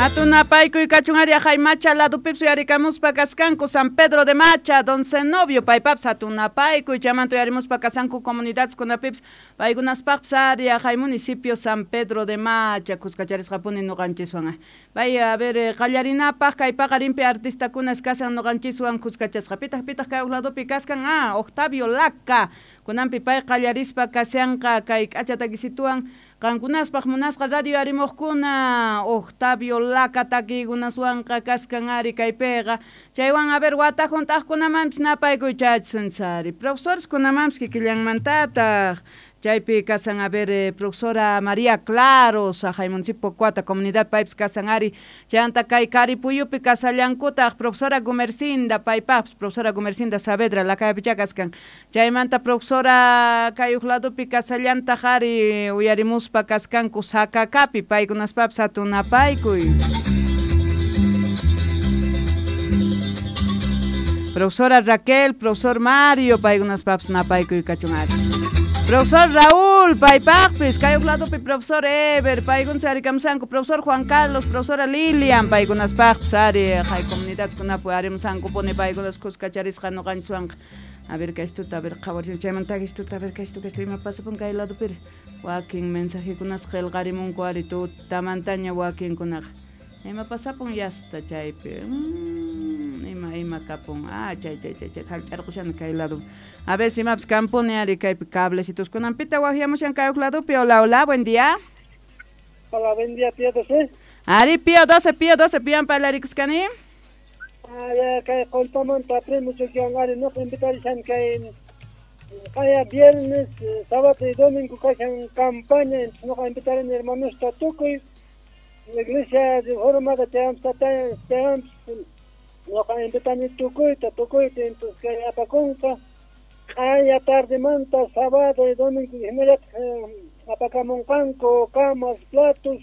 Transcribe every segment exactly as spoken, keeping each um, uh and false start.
Hatunapaykuy kachun ari aqhay Macha ladupips uyarikamuspa kaskanku San Pedro de Macha, Don Zenobio paypaps hatunapaykuy chaymanta uyarimuspa kasanku comunidadkunapips paykunaspaqpis ari aqhay municipio San Pedro de Macha kuskacharisqapuni ñuqanchiswan. Bay a ver qallarinapaq kay paqarinpi artistakunas kasan ñuqanchiswan kuskachasqa pitaq pitaq kay ladupi kaskan ah Octavio Laca kunanpi pay qallarispa kashanqa kay k'acha takisituwan qankunaspaq munasqa radio arimuqkuna Octavio Laca takiykunaswanqa kaskan ari kaypiqa chaywan a ver wata hunt'aqkunamanpis napaykuy chayachsun ari profesores kunamanpis kikillanmantataq chaypi kasan a ver eh, profesora María Claros aqhay municipio Cuata comunidad paypis kasan ari chaymanta kay Karipuyupi kasallankutaq profesora Gumercinda paypaqpis profesora Gumercinda Saavedra Lakayapicha kaskan chaymanta profesora kay huk ladupi kasallantaq ari uyarimuspa kaskanku Sakakapi paykunaspapis hatunapaykuy. Profesora Raquel, profesor Mario, paykunaspapis napaykuy kachun ari. Profesor Raúl, paypaqpis, kay huk ladupi profesor Ever, paykunas arikamsanku, profesor Juan Carlos, profesora Lilian, paykunaspaqpis ari, hay comunidadkunapi arimusankupuni paykunas kuskacharisqa ñuqanchiswanqa. A ver, kaystuta, a ver, qhawarin chaymanta kaystuta, a ver, kaystu, kaystu, ima pasapun kay ladupiri. Wakin mensajekunas qillqarimunku ari tutamantaña wakinkunaqa. Ima pasapun yasta chaypi. Mm, ima ima kapun. Ah, chay chay chay chay hallch'arqushani kay lado. A ver si imapis kampuni ari kaypi cablecitos kunanpita waqyamushan kay huk ladupi. Hola, hola, buen día. Hola, buen día, Pío doce. Ari Pío doce, Pío doce, pian parlarikusqani. Ah, ya kay Qollpamanta primo chukiwan ari nuqa invitarishan kay qaya viernes, sábado y domingo kashan campaña, entonces nuqa invitarini hermanosta tukuy iglesia reformada chayampas chayampas nuqa invitani tukuyta tukuyta, entonces kay apakunqa qaya tardemanta sábado y domingo hinallataq apakamunqanku camas, platos,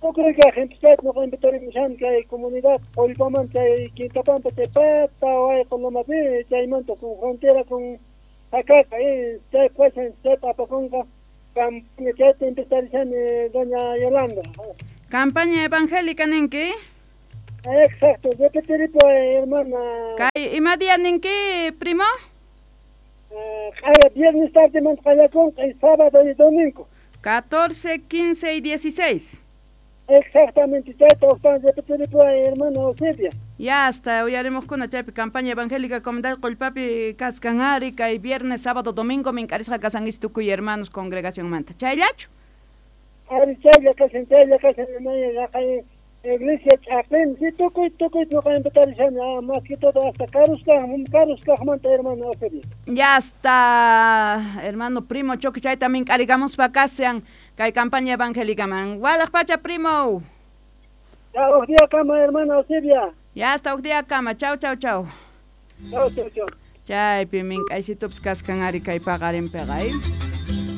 tukuy kaq, entonces nuqa invitarimushan kay comunidad Qollpamanta chay Quintapampa chay pata wayqu lomapi chaymanta con frontera con Jacaca, eh, chay kashan chayta apakunqa campaña chayta invitarishani doña Yolanda. Campaña evangélica ninki? Exacto, repetiripuway hermana. Kay ima día ninki, primo? Qaya viernes tardemanta qallakunqa y sábado y domingo. catorce, quince y dieciséis. Exactamente, chayta uqtan repetiripuway hermana Eusebia. Ya hasta uyarimuqkuna chaypi campaña evangélica comunidad Qollpapi kaskan ari kay viernes, sábado, domingo minkarisqa kasankichik tukuy hermanos congregacionmanta. Chayllachu? Ari chaylla kashan, chaylla kashan, haqay iglesia ch'aqin, si tukuy tukuy nuqa invitarishani, ah, más que todo hasta karuskaq, karuskaqmanta hermana Eusebia. Ya hasta hermano primo Choque chayta mink'arigamuspa kashan kay campaña evangélica man. Walaq pacha primo. Ya huk día kama hermana Eusebia. Ya hasta huk día kama. Chau chau chau. Chau chau chau. Chaypi mink'aysitupis kaskan ari kay paqarinpiqa, eh.